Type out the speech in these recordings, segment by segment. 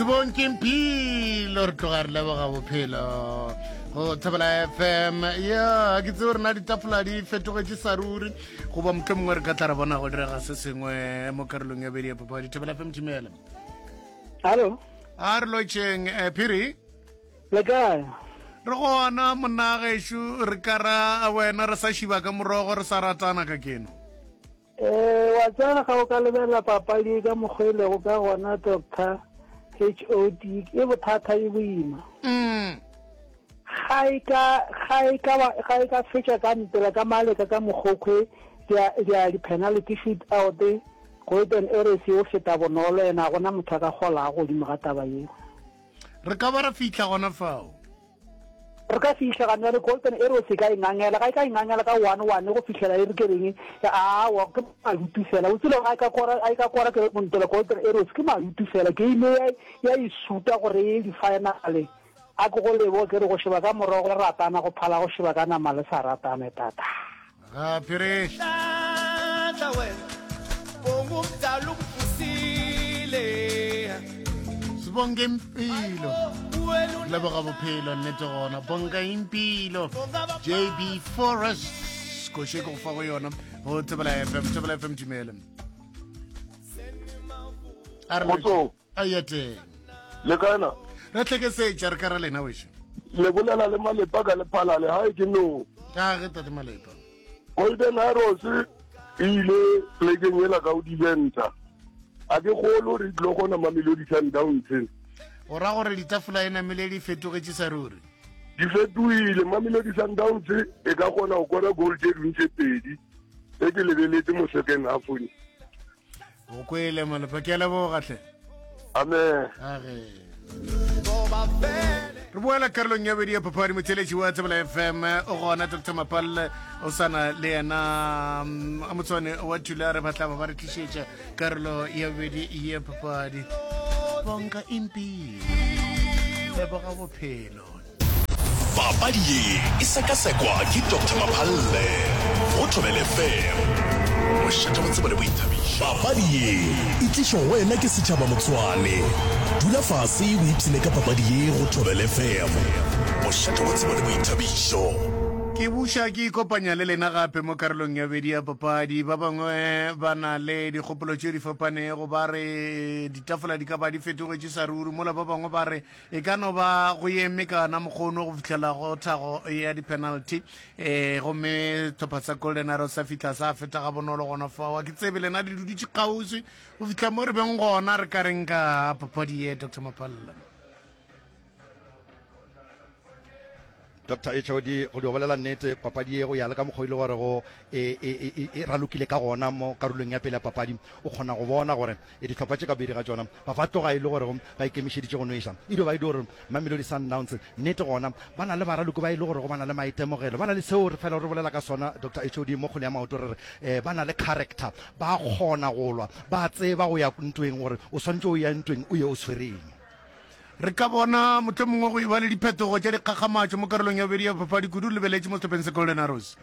Sebong ke mpilo re tloga re leboga bophelo go Thobela FM. Ya, ke tsebe rena ditafola di fetogetše sa ruri goba mohlomongwe mongwe re ka tla re bona go direga se sengwe mo karolong ya bedi ya papadi. Thobela FM thimela. Hallo. A re lotšheng eh, Phiri. Le kae? Re gona monna gešo re ka ra wena re sa šiba ka morogo re sa ratana ka keno. Eh, wa tseba ga o ka lebelela papadi e ka mokgwa e lego ka gona Doctor HOD e bothata e boima. Mm. Ga e ka ga e ka ga e ka fetša ka ntela ka maleka ka mokgokhwe dia dia di penalty shoot out Golden Arrows yo feta bonolo ena gona motho a ka golago godimo ga taba yeo. Re ka ba ra fihla gona fao. Re ka fihla ga bjale Golden Arrows e ka e ngangela, ga e ka e ngangela ka one one go fihlela e re ke reng, aowa ke madutu fela. O tsebe ga e ka kora, ga e ka kora ke ntela Golden Arrows ke madutu fela. Game ya ya e suta gore e ye di-final. A ke go leboge ke re go sheba ka morogo le ratana go phala go sheba ka nama le sa ratane tata. Ga phiri. Sibonge impilo. Leboga bophelo nnete gona. Bonga impilo. JB Forest. Koše ke go fa go yona. Go Thobela FM, Thobela FM dumela. A re Kgotso. A ya teng. Le kae na? Re tlhekesetša re ka ra lena wešo. Le bolela le Malepa ka Lephalale, hae ke no. A ge tate Malepa. Golden Arrows e ile plekeng yela ka o diventa. A ke kgolo re tlo gona Mamelodi Sundowns. O ra gore ditafola e namile di fetogetše sa ruri? Di fetohile. Mamelodi Sundowns e ka kgona go kora goal tše dingwe tše pedi e ke lebeletse mo second half-ong. O kwele Malepa, ke a leboga hle. Amen. Age. Re boela karolong ya bedi ya papadi motheletši wa Tsebela FM o gona Dr Mapalle o sana le yena mm, a motswane wa Thulare ba tla ba ba re tlišetša karolo ya bedi ya papadi bonka impilo leboga bophelo Papadi ye e sekasekwa ke Doctor Maphalle go Thobela FM, mošate wa tsebo le boithabišo. Papadi ye e tlišwa go wena ke setšhaba Motswane. Dula fase o ipshine ka papadi ye go Thobela FM, mošate wa tsebo le boithabišo. Ke buša ke ikopanya le lena gape mo karolong ya bedi ya papadi. Ba bangwe ba na le dikgopolo tše di fapanego, ba re ditafola di ka ba di fetogetše sa ruri, mola ba bangwe ba re E ka no ba go eme ka ona mokgono go fihlela go thago ya di-penalty um gomme tlhopha sa Golden Arrows sa fihla sa feta gabonolo gona fao. A ke tsebe lena le dudutše kgauswi go fihla mo re beng gona re ka reng ka papadi ye Doctor Mapalla? Doctor HOD, go dio bolela nnete, papadi ye go ya le ka mokgwa o ile gore go e, e, e, e ralokile ka gona mo karolong ya pele ya papadi, o kgona go bona gore E Dihlopha tše ka bobedi ga tšona ba ba tloga e le gore ba ikemišeditše go nweša. E dio ba e dio gore Mamelodi Sundowns nnete gona ba na le baraloki ba e le gore ba na le maitemogelo, ba na le seo re fela re bolela ka sona Doctor HOD mo kgwele ya maoto re re ba na le character, ba kgona go lwa, ba tseba go ya ntweng gore o swanetše o ya ntweng o ye o tshwereng. Re ka bona mohlomongwe go eba le diphetogo tša dikgakgamatšo mo karolong ya bobedi ya papadi kudu re lebeletše mo sehlopheng sa Golden Arrows.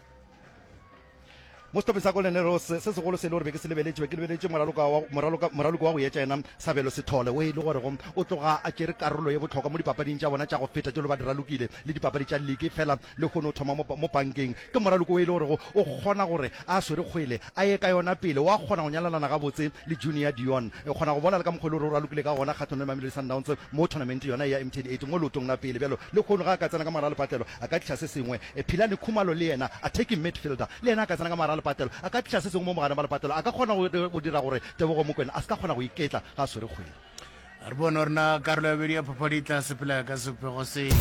Mo sehlopheng sa Golden Arrows, se segolo se e le gore be ke se lebeletše, be ke lebeletše moraloka wa, moraloka, moraloki wa go etša yena Sabelo Sithole, o e le gore go o tloga a tšere karolo ye bohlokwa mo dipapading tša bona tša go feta tšelo ba di ralokile le dipapadi tša liki, fela lehono o thoma mo, mo pankeng. Ke moraloki o e le gore go o kgona gore a swere kgwele a ye ka yona pele, wa kgona go nyalelana gabotse le Junior Dion. O kgona go bona le ka mokgwa e le gore o ralokile ka gona kgahlanong le Mamelodi Sundowns mo tournament yona ya MTN 8 mo leotong la pele. Bjalo lehono ge a ka tsena ka mogare ga lepatlelo a ka tliša se sengwe. Philani Khumalo le yena, attacking midfielder, le yena a ka tsena ka mogare ga lepatlelo, a ka tliša se sengwe mo mogareng ba lepatlelo, a ka kgona go, go dira gore Tebogo Mokoena a se ka kgona go iketla ga a swere kgwele. Re bone gore na karolo ya bobedi ya papadi e tla sepela ka sebopego sefe.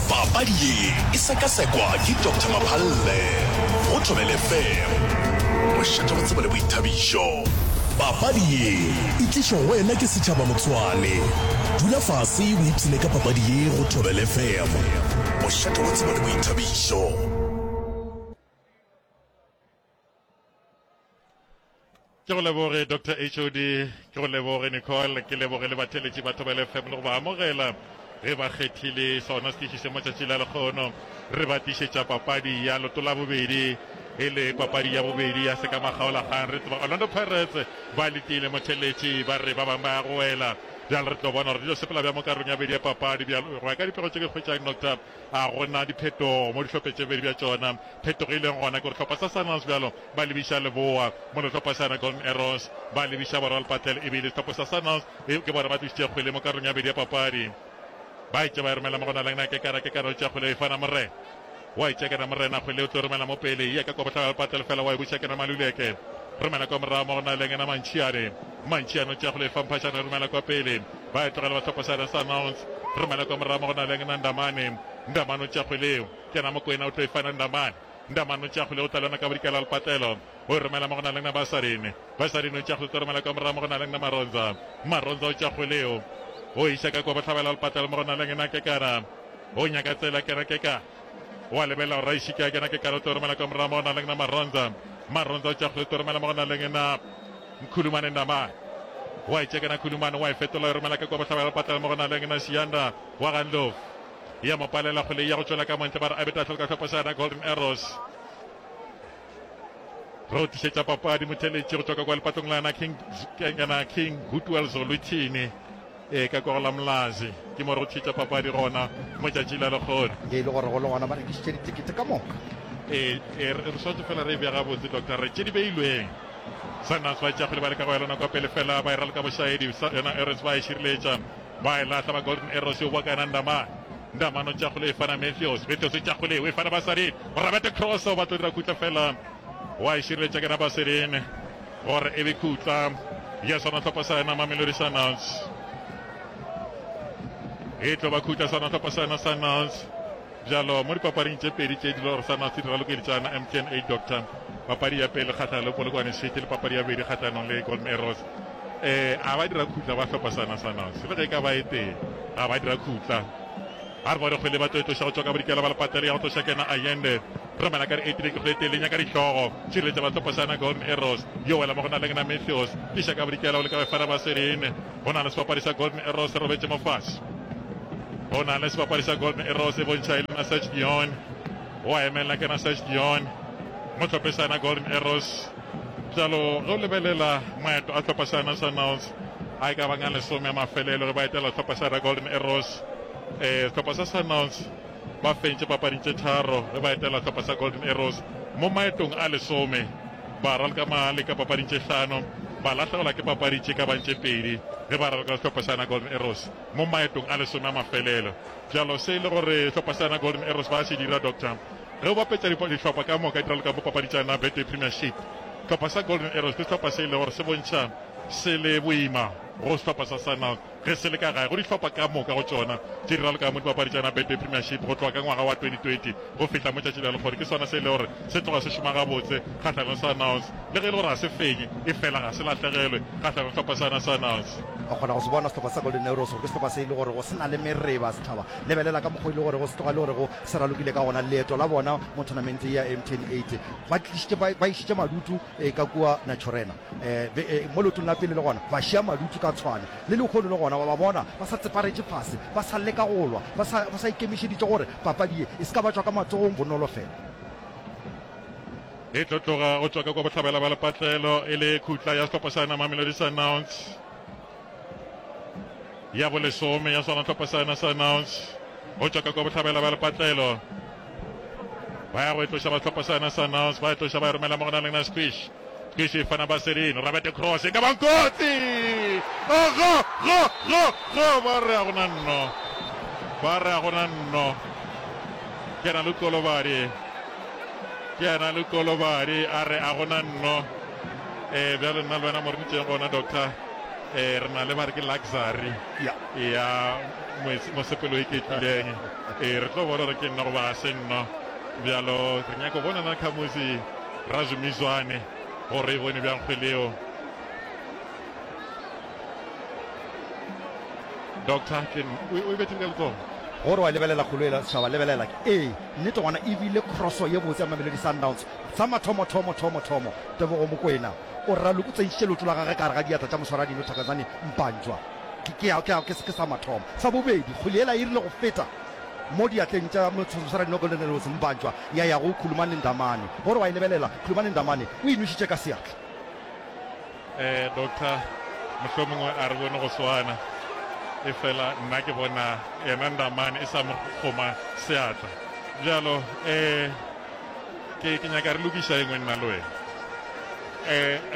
Papadi ye e sekasekwa ke Doctor Maphalle go Thobela FM, mošate wa tsebo le boithabišo. Papadi ye e tlišwa go wena ke setšhaba Motswane. Dula fase o ipshine ka papadi ye go Thobela FM, mošate wa tsebo le boithabišo. Ke go leboge Doctor HOD, ke go leboge Nicole, ke leboge le batheeletši ba Thobela FM le go ba amogela ge ba kgethile sona setiši se motšatši la lekgono. Re ba tlišetša papadi ya loto la bobedi e le papadi ya bobedi ya sekamakgaolakgang. Re tseba Orlando Pirates ba letile motheeletši, ba re ba bangwe ba ya go wela. Bjale re tlo bona gore di tlo sepela bjang mo karolong ya bobedi ya papadi. Bjalo go ya ka dipego tše ke hwetšang, Doctor, ga go na diphetogo mo dihlopheng tše bobedi bja tšona. Phetogo e leng gona ke gore hlopha sa Sundowns bjalo ba lebiša leboa, mola sehlopha sa yona Golden Arrows ba lebiša borwa lepatlelo. Ebile sehlopha sa Sundowns ke bona ba tlišitše kgwele mo karolong ya bobedi ya papadi. Ba etše ba e romela mo go na le Kekana, Kekana o tšea kgwele o e fana Morena. Wa e tšea kena Morena kgwele o tlo romela mo pele, ya ka kwa bohlaba lepatlelo fela wa e buša kena Maluleke. Romela kwa morago mo go na le ngena Mantšiane. Mantšiane o tšea kgwele e fa Mphašane o romela kwa pele. Ba e tlogela ba hlopha sa Sundowns. Romela kwa morago mo go na le ngena Ndamane. Ndamane o tšea kgwele eo. Kena Mokoena o tlo e fana Ndamane. Ndamane o tšea kgwele o tla le yona ka bodikela lepatlelo. O e romela mo go na le ngena Basadine. Basadine o tšea kgwele o tlo romela kwa morago mo go na le ngena Maronza. Maronza o tšea kgwele eo. O e iša ka kwa bohlabela lepatlelo mo go na le ngena Kekana. O nyaka tsela kena Kekana. Wa lebelela gore Raishiki a kena Kekana o tlo romela kwa morago mo go na le ngena Maronza. Maronza o tšea kgwele o tlo romela mo go na le ngena Nkhulumane Ndamane. Wa e tšea kena Khulumane wa e fetola o e romela ka kwa bohlabela lepatlelo mo go na le ngena Siyanda wa ga Ndlovu. Ya mo palela kgwele ya go tšwela ka montle ba re a be tahlelo ka hlopha sa yona Golden Arrows. Re o tlišetša papadi motheletši go tšwa ka kwa lepatlong la yona King, yona King Goodwell Zolithini e ka kwa go la Mlazi. Ke mo re go tlišetša papadi gona motšatši la lekgono. Ge e le gore go le gona ba rekišitše ditekete ka moka. E, e, re swanetše fela re e bea gabotse doctor re tše di beilweng. Sundowns ba tšea kgwele ba leka go ya lona kwa pele fela ba e raloka bošaedi yona Arrows ba e šireletša. Ba e lahla ba Golden Arrows yo boa ka yena Ndamane. Ndamane o tšea kgole e fana Matthews. Matthews o tšea kgole o e fana Basadien. Rabete cross o batla dira khutla fela wa e šireletša ke yena Basadien gore e be khutla ya sona hlopha sa yena Mamelodi Sundowns. E tlo ba khutla sona hlopha sa yena Sundowns. Bjalo mo dipapading tše pedi tše di lego sa se di ralokeletšana MTN 8 Doctor, papadi ya pele kgahlanong le Polokwane City le papadi ya bobedi kgahlanong le Golden Arrows. Eh, a ba dira khutla ba hlopha sana Sundowns le ge e ka ba e tee, a ba dira khutla. A re bone kgwele ba tlo e tloša go tšwa ka bodikela ba lepatele ya go tloša kena Allende. Romela ka di-8 ke kgwele tee le nyaka dihlogo. Tšireletša ba hlopha sana Golden Arrows. Yo wela mo go na le ngena Matthews. Tliša ka bodikela o leka go e fana Baserine. Go na le sebapadi sa Golden Arrows se robetše mo fase. Go na le sebapadi sa Golden Arrows e bontšha e le na Serge Dion. O a emelela ke na Serge Dion. Mo hlophe sa yena Golden Arrows. Bjalo ge o lebelela maeto a hlopha sa yena Sundowns a e ka bang a lesome a mafelelo ge ba etela hlopha sa yena Golden Arrows. Eh, sehlopha sa Sundowns ba fentše papading tše tharo ge ba etela hlopha sa Golden Arrows mo maetong a lesome. Ba raloka male ka papading tše hlano, ba lahlegelwa ke papadi tše ka bang tše pedi ge ba raloka le sehlopha sa yona Golden Arrows mo maetong a lesome a mafelelo. Bjalo se e le gore sehlopha sa yona Golden Arrows ba se dira, Doctor, ge o bapetša dihlopha ka moka di raloka mo papadi tša yona Betway Premiership, sehlopha sa Golden Arrows ke sehlopha se e le gore se bontšha se le boima go sehlopha sa Sundowns. Ge se le ka gae go dihlopha ka moka go tšona tše di ralokago mo dipapadi tša yona Betway Premiership go tloga ka ngwaga wa 2020 go fihla mo tšatši la lehono, ke sona se e le gore se tloga se šoma gabotse kgahlanong le Sundowns. Le ge e le gore ga se fenye, efela ga se lahlegelwe kgahlanong le sehlopha sa yona Sundowns. O kgona go se bona sehlopha sa Golden Arrows gore ke sehlopha se e le gorego se na le mereba setšhaba. Lebelela ka mokgwa e le gorego se tloga e le gorego se ralokile ka gona. Leeto la bona mo tournament ya MTN 8 ba tlišitše ba išitše madutu ka kua Naturena. Mo leotong la pele le gona ba šia madutu ka tshwane. Le lehono le gona wa ba bona ba sa tseparetše fase, ba sa leka go lwa, ba sa, ba sa ikemišeditše gore papadi ye e se ka ba tšwa ka matsogong bonolo fela. E tlo tloga go tšwa ka kwa bohlabela ba lepatlelo e le khutla ya sehlopha sa Mamelodi Sundowns ya bolesome ya sona sehlopha sa yona Sundowns go tšwa ka kwa bohlabela ba lepatlelo ba ya go e tloša ba sehlopha sa yona Sundowns ba e tloša ba e romela mo go na le na Squish Squish e fana Baserin Robert Cross e ka bang kotsi oh, go go go go ba re a gona nno ba re a gona nno ke na le kolobadi ke yena le kolobadi a re a gona nno um bjalo nna le wena mo re dutšeng gona doctor um re na le ba re ke luxury ya mosepelo e ketlileng ee re tlo bona gore ke nno goba ga se nno bjalo re nyako bona na khamusi Razumizwane gore e bone bjang kgwele eo. Doctor ke o e bethile ka letsogo. Gore wa lebelela kgolo ela setšhaba lebelela ee nnete gona e bile crosso ye botse ya Mamelodi Sundowns sa mathomo thomo thomo thomo Tebogo Mokoena o raloke o tsentšitše leoto la gagwe ka gare ga diatla tša moswaradino Thokozani Mpanjwa ke ke ke ke sa mathomo sa bobedi kgwele yela e rile go feta Mo diatleng tša mosadi Nogolden Rose Mbanjwa ya ya go Khulumani Ndamane. Gore wa e lebelela, Khulumani Ndamane o e nwešitše ka seatla. Eh, Doctor, mohlomongwe a re bone go swana. Efela nna ke bona yena Ndamane e sa mo kgoma seatla. Bjalo um ke, ke nyaka re lokiša e nngwe nna le wena.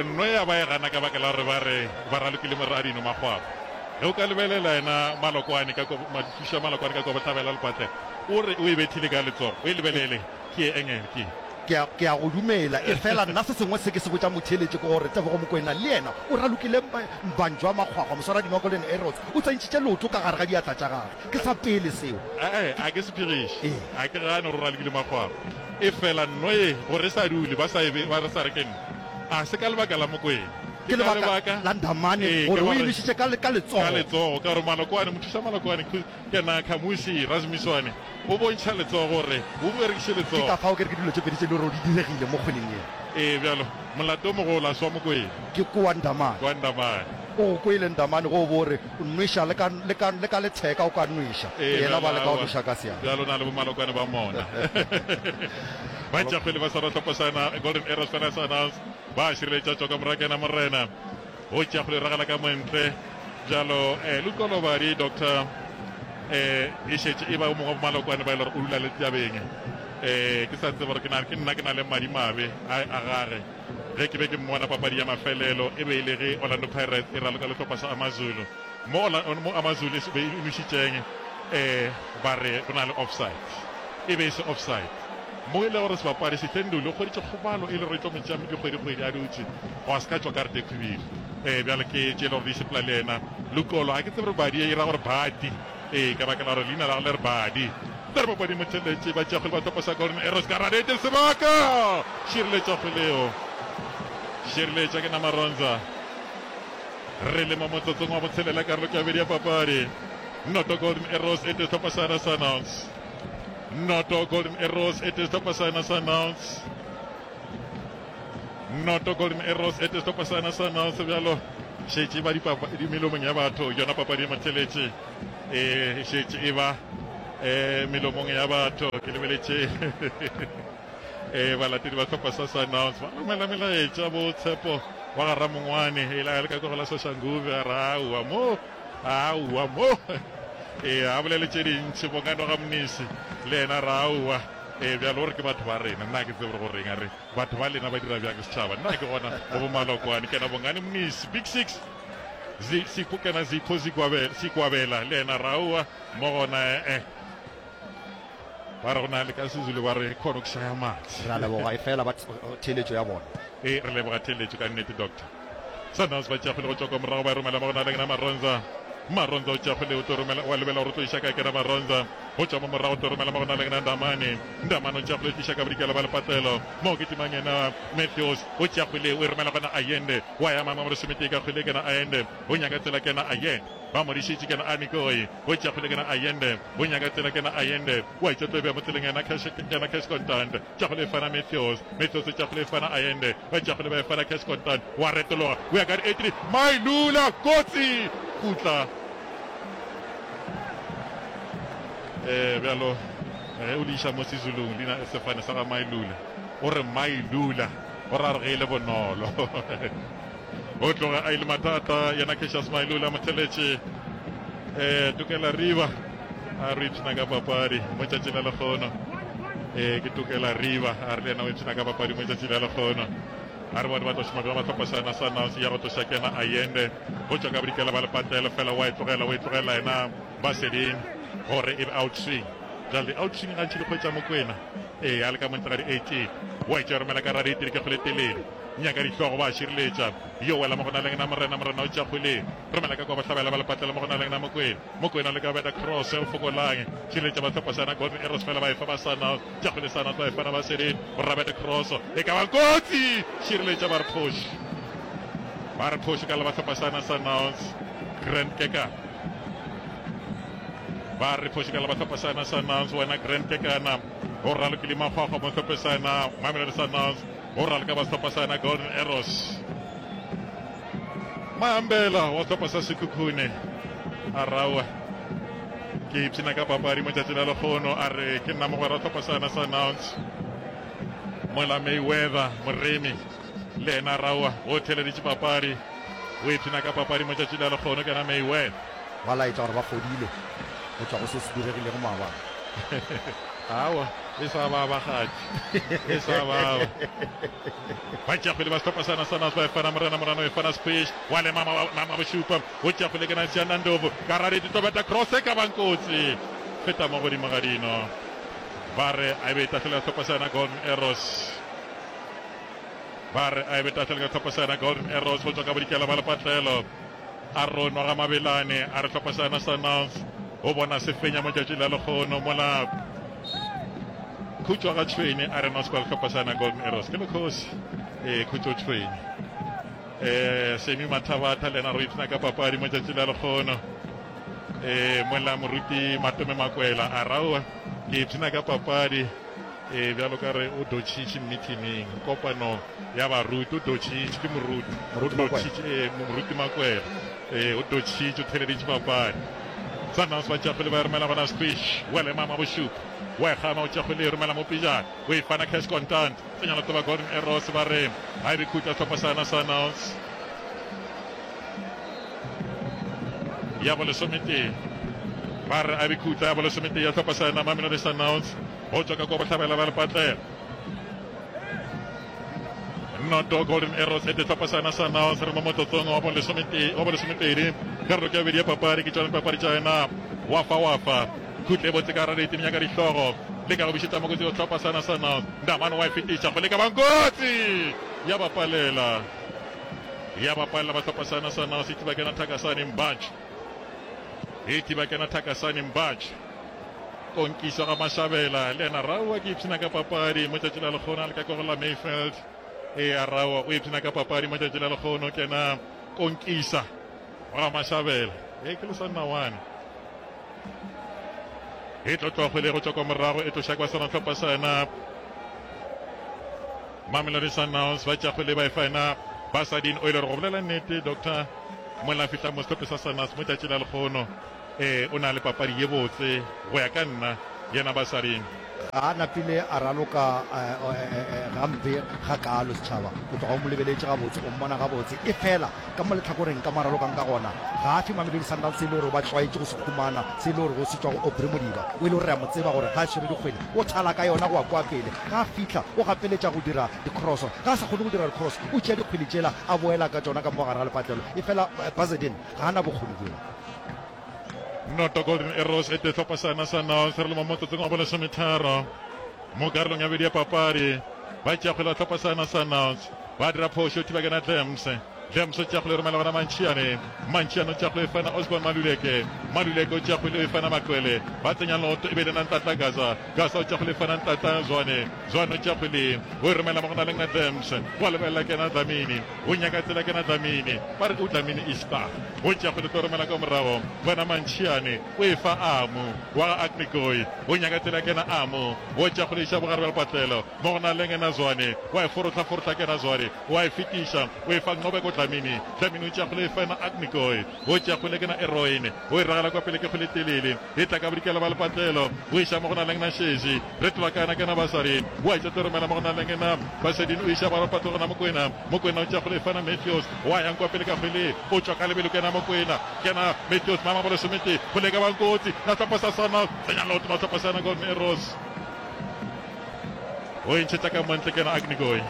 Um nno ya ba e gana ka baka la gore ba re ba ralokile moradino makgwakgwa. Ge o ka lebelela yena Malokwane ka kwa, Mathuša Malokwane ka kwa bohlabela lepatlelo, o re o e bethile ka letsogo. O e lebelele, ke ye engel, ke ye. Ke a, ke a go dumela. Efela nna se sengwe se ke se botša motheeletši ke gore Tebogo Mokoena le yena o ralokile Mbanjwa Makgwakgwa, moswaradino wa Golden Arrows, o tsentšhitše leoto ka gare ga diatla tša gagwe. Ke sa pele seo. Ee, a ke se phegiše. Ee. A ke gane gore o ralokile Makgwakgwa. Efela nno ye, gore e sa dule, ba sa e be, ba re sa re ke nno. A se ka lebaka la Mokoena. Ke Ke ka lebaka lebaka la Ndamane Ee, gore ka o e gore nwešitše ka, ka letsogo. ka letsogo, ka gore Malokwane, mothuša Malokwane, ke na Khamusi Rasmiswane. O bontšha letsogo gore o berekiše Ke letsogo. ka fao ke re ke dilo tše pedi tše e le gore di diregile mo kgweleng ye. Ee, bjalo, molato o mogolo a se wa Mokwena. Ke kwa Ndamane. Kwa Ndamane. O go kwele Ndamane ge o bo o re o nweša le ka, le ka, le ka letheka o ka nweša. Ee, Yena bjalo, ba leka go aowa. nweša ka seatla. Bjalo o na le bomalokwane ba mona. Ba tšea kgwele ba swara hlopha sa na Golden Arrows fela sa announce. Ba šireletša tšwa ka morago ke yena Morena. Go tšea go le ragela ka montle bjalo eh, Lukolobadi Doctor eh, e šetše e ba o mongwe wa bomalokwane ba e le gore o dula le tabeng eh, ke sa tseba gore ke na ke nna ke na le madi mabe a a gage ge ke be ke mmona papadi ya mafelelo e be e le ge Orlando Pirates e raloka le hlopha sa Amazulu mo mo Amazulu e be e nwešitšeng eh, ba re go na le offside e be e se offside Mo e le gore sebapadi Sihlenduli o hweditše kgobalo e le gore e tlo mo tšea dikgwedikgwedi a dutše, gwa se ka tšwa karata e khwibidu. Ee, bjale ke tše e le gore di sepela le yena. Lukolo, ga ke tsebe gore Badi e ra gore Badi. Ee, ka baka la gore leina la gagwe le re Badi. Tla re papadi motheletše, ba tšea kgwele ba topa sa Golden Arrows ka radete sebaka! Šireletša kgwele eo. Šireletša ke Namaronza. Re le mo motsotsong wa botshelela karolo ke ya bobedi ya papadi. Noto Golden Arrows e tee hlopha sa Sundowns. Noto Golden Arrows e tee sehlopha sa yona Sundowns. Noto Golden Arrows e tee sehlopha sa yona Sundowns bjalo šetše ba di melomong ya batho yona papadi e motheletše e šetše e ba e melomong ya batho ke lebeletše e balatedi ba sehlopha sa Sundowns ba romela melaetša bo tshepo wa ga Ramongwane e la le ka kogola Soshanguve a ra mo Aowa mo. Ee, a bolele tše dintši. Bongano ga Mnisi le yena a re aowa. Ee, bjalo o re ke batho ba rena. Nna ga ke tsebe gore go reng. A re batho ba lena ba dira bjang setšhaba. Nna ke gona go bo Malokwane. Ke na Bongani Mnisi. Big Six. Zi, Sipho, ke na Zipho Zikwabela, Sikwabela le yena a re aowa mo gona ee. Ba re go na le ka Sezulu ba re khona go shaya matse. Re a leboga efela ba theeletšo ya bona. Ee, re leboga theeletšo ka nnete, Doctor. Sundowns ba tšea kgwele go tšwa kwa morago ba e romela mo go na le kena Maronza. Maronza o tšea kgwele o tlo romela wa lebela gore o tlo iša kae kena Maronza. Go tšwa mo morago o tlo romela mo go na le kena Ndamane. Ndamane o tšea kgwele o tliša ka bodikela ba lepatlelo. Mo ke timang yena Matthews o tšea kgwele o e romela gona Allende. Wa ya mama molesometee ka kgwele kena Allende. O nyaka tsela kena Allende. Ba mo dišitše kena Anikoi. O tšea kgwele kena Allende. O nyaka tsela kena Allende. Wa itša tlo e bea mo tseleng yena Cash kena Cash Contant. Tša go lefana Matthews, Matthews tša go lefana Allende, ba tša go le ba efana Cash Contant, wa retologa, o ya ka di-83, Mailula, kotsi, khutla. Eh, bjalo ge o le iša mo Sezulung, leina sefane sa ga Mailula, o re Mailula, o ra re ge e le bonolo. O tloga a ile mathata yena Cassius Mailula motheletše eh Tokela Riba a re ipshina ka papadi mo tšatši la lekgono eh ke Tokela Riba a re le yena o ipshina ka papadi mo tšatši la lekgono a re bone ba tlo šoma bjang ba hlopha sa yena Sundowns ya go tloša kena Allende go tšwa ka bodikela ba lepatlelo fela wa e tlogela o e tlogela yena Baseding gore e be out swing jale di out swing gantši di kgwetša Mokwena ee a le ka montle ga di 18 wa e tšea romela ka raditiri ke kgole telele Nyaka dihlogo ba šireletša. Yo wela mo go na leng na Morena, Morena o tšea kgwele. Romela ka kwa bohlabela ba lepatlelo mo go na leng na Mokwena. Mokwena o leka go beta cross, o fokolang. Šireletša ba hlopha sa na Golden Arrows fela ba efa ba Sundowns. Tšea kgwele Sundowns ba efa na ba Serene. O rabeta cross, e ka ba kotsi! Šireletša ba re phoši. Ba re phoši ka la ba hlopha sa na Sundowns. Grand Kekana. Ba re phoši ka la ba hlopha sa na Sundowns. Wena Grand Kekana o ralokile makgwakgwa mo hlophe sa na Mamelodi Sundowns. Go raloka ba sehlopha sa yena Golden Arrows. Mayambela wa sehlopha sa Sekhukhune a rawa ke ipshina ka papadi mo tšatši la lekgono a re ke nna mogwera wa sehlopha sa yena Sundowns. Mola Mayweather Moremi le yena rawa o theleditše papadi o ipshina ka papadi mo tšatši la lekgono ke yena Mayweather. Ba laetša gore ba fodile go tšwa go se se diregilego maabane. Aowa, e sa baba gati. E sa baba. Ba tšea kgwele ba sehlopha sa Nasanas ba e fana Morena Morano e fana Squish wa le mama mama bošupa o tšea kgwele ke Nancy Nandlovu ka raredi tobeta cross e ka bang kotsi feta mo godimo ga dino ba re a e be tahlelo ya sehlopha sa yona Golden Arrows ba re a e be tahlelo ya sehlopha sa yona Golden Arrows go tšwa ka bodikela ba lepatlelo Aron wa ga Mabelane a re hlopha sa yona Sundowns o bona se fenya mo tšatši la lekgono mola Khutšo ga Tšhwene a re no sekwa hlopha sa yona Golden Arrows ke lekgosi ee Khutšo Tšhwene eh Semi Mathabatha le yena re ipshina ka papadi mo tšatši la lekgono eh mola moruti Matome Makwela a raoa ke ipshina ka papadi Ee, bjalo ka re o dotšhitše mmithining, kopano ya baruti, o dotšhitše, ke moruti, o Moruti Makwela. dotšhitše, ee, moruti Makwela, ee, o dotšhitše, o theleditše papadi. Sundowns ba tšea kgwele ba e romela gona Squish, wa lema Mabošupa, wa e gana, o tšea kgwele e romela mo pejana, o e fana Cash Contant, tsenya leoto ba Golden Arrows ba re ga e be khutla sehlopha sa yona Sundowns. Ya bolesometee ba re a be khutla ya bolesometee ya sehlopha sa yona Mamelodi Sundowns. Go tšwa ka kua bohlabela ba lepatlela. Noto Golden Arrows e sehlopha sa yona sa Naos re mo motsotsong wa bolesomepedi karolo ke ya bobedi ya papadi ke tšona dipapadi tša yona wafa wafa khutle e botse ka gare ditimenya ka dihlogo le ka go bišetša mokotsi go sehlopha sa yona sa Naos Ndamane wa e fetiša go leka bankotsi ya bapalela ya bapalela ba sehlopha sa yona sa Naos e thiba kena Thakasane Mbatš e thiba kena Thakasane Mbatš Konkišo ga Mashabela le yena Raowa ke ipshina ka papadi mo tšatši la lekgono a le ka kwa go la Mayfield. Ea Raowa o ipshina ka papadi mo tšatši la lekgono ke yena Konkisa ga Mashabela. E ke lesannawane. E tlo tloga kgwele go tšwa kwa morago e tloša kwa sona hlopha sa yena Mamelodi Sundowns ba tša kgwele ba e fa yena Basadin o ile gore go bolela nnete Doctor mola fihla mo sehlophe sa Sundowns mo tšatši la lekgono Ee, o na le papadi ye botse, go ya ka nna, yena Basading. Ga a napile a raloka gampe gakaalo, setšhaba. O tloga o mo lebeletše gabotse, o mmona gabotse. Efela ka mo lehlakoreng ka mo a ralokang ka gona, ga a fe Mamelodi Sundowns se e le gore ba tlwaetše go se humana, se e le gore se tšwa go Aubrey Modiba. O e le gore re a mo tseba gore ga a swere dikgwele, o thala ka yona go ya kua pele. Ga a fihla, o gapeletša go dira dikroso. Ga a sa kgone go dira dikroso, o tšea dikgwele tšela a boela ka tšona ka mo gare ga lepatlelo. Efela Basadien ga a na bokgoni bjola. Noto Golden Arrows e tehlopha sa yona sa North re le mo motsotsong wa bolesometharo mo karolong ya bobedi ya papadi. Ba tšea kgwele ba hlopha sa yona sa North ba dira phošo thiba kena Dlams. Dlams o tšea kgwele e romela gona Mantšhiane. Mantšhiane o tšea kgwele e fana Osborne Maluleke. Maluleke o tšea kgwele e fana Makwele. Ba tsenya loto e be le na Ntlatla Gaza. Gaza o tšea kgwele e fana Ntlatla Zwane. Zwane o tšea kgwele o e romela mo go na le na Dlams. Wa lebelela kena Dlamini. O nyaka tsela kena Dlamini. Ba re o Dlamini Easter. O tšea kgwele tlo romela ka morago. Bona Mantšhiane o e fa Amu wa ga Agnikoi. O nyaka tsela kena Amu. O tšea kgwele iša bogare bja lepatlelo. Mo go na le ngena Zwane. Wa e forohla-forohla kena Zwane. O a e fetiša. O e fa Nqobeko Dlamini. Dlamini o tšea kgwele e fa yena Agnikoi. O tšea kgwele kena Eroin. O e ragela kwa pele ke kgwele telele. E tla ka bodikela ba lepatlelo. O iša mo go na le ngena Shezi. Re tloga ka yena kena Basadi. O a etša tlo romela mo go na le ngena Basadin. O iša ba lepatlelo gona Mokwena. Mokwena o tšea kgwele e fana Matthews. Wa yang kwa pele ka kgwele. O tšwa ka lebelo kena Mokwena. Kena Matthews mama bolesomete. Kgwele e ka bang kotsi. Na sehlopha sa Sundowns. Tsenya leoto ba sehlopha sa yona Golden Arrows. O e ntšhetša ka montle kena Agnikoi.